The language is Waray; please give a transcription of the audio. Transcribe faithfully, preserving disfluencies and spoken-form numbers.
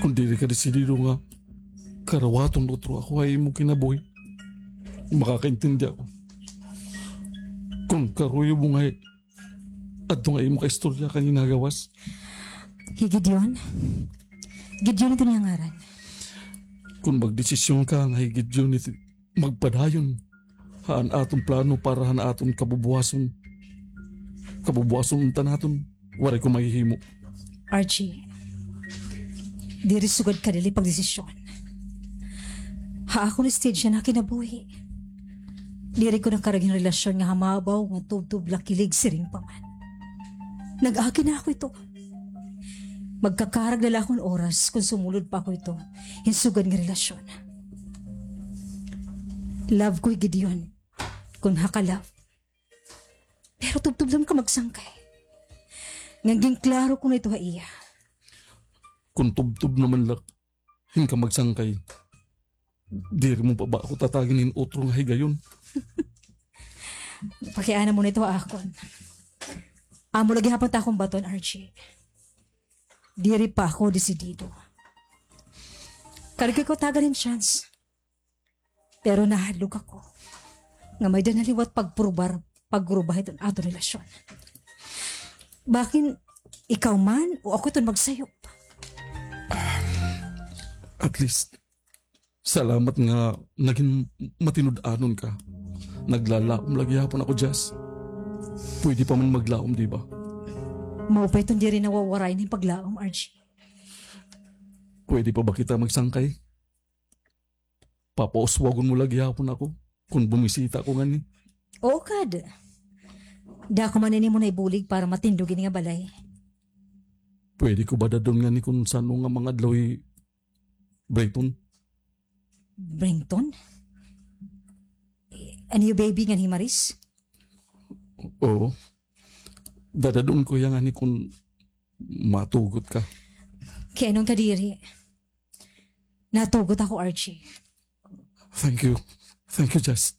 Kon diri ka desidido nga karawaton utro ako ha imo kinabuhi, makakaintindi ako kon karuyag mo nga adto nga imo kaistorya kanina ha gawas. Hi Gideon? Gideon ito niya ngaran. Kon magdesisyon ka nga hi Gideon ito magpadayon han aton plano para han aton kabubuwason. Kabubuwason unta naton, waray ko mahihimo. Archie, diri sugad kadali pagdesisyon. Ha akon stage na kinabuhi, diri ko nakarag hin relasyon nga hamabaw nga tubtob la kilig siring pa man. Nag-agi na ako ito. Magkakarag na la ako hin oras kon sumulod pa ako ito hin sugad nga relasyon. Love ko hi Gideon, kon ha ka-love. Pero tubtob la man ka magsangkay. Ngan ginklaro ko na ito ha iya. Kon tubtob naman la hin ka magsangkay, diri mo pa ba ako tatagin hin utro nga higayon? Pakiana mo na ito ha akon. Amo la gihapon it akon baton, Archie. Diri pa ako desidido. Karuyag ko tagan hin chance. Pero nahadlok ako nga may-ada na liwat pagpurbar, pagruba hiton aton relasyon. Bakin ikaw man o ako iton magsayop? At least, salamat nga nagin matinud-anon ka. Naglalaom la gihapon ako, Jess. Pwede pa man maglaom, di ba? Maupay iton diri nawawarayan hin paglaom, Archie. Pwede pa ba kita magsangkay? Papauswagon mo la gihapon ako kon bumisita ako ngani. Oo, kad. Dako man ini mo naibulig para matindog ini nga balay. Pwede ko ba dad-on ngani kon san-o nga mga adlaw hi Brenton? Brenton? An iyo baby ngan hi Maris? Oo. Dadad-on ko hiya ngani kon matugot ka. Kay ano nga kadiri? Natugot ako, Archie. Thank you. Thank you, Jess.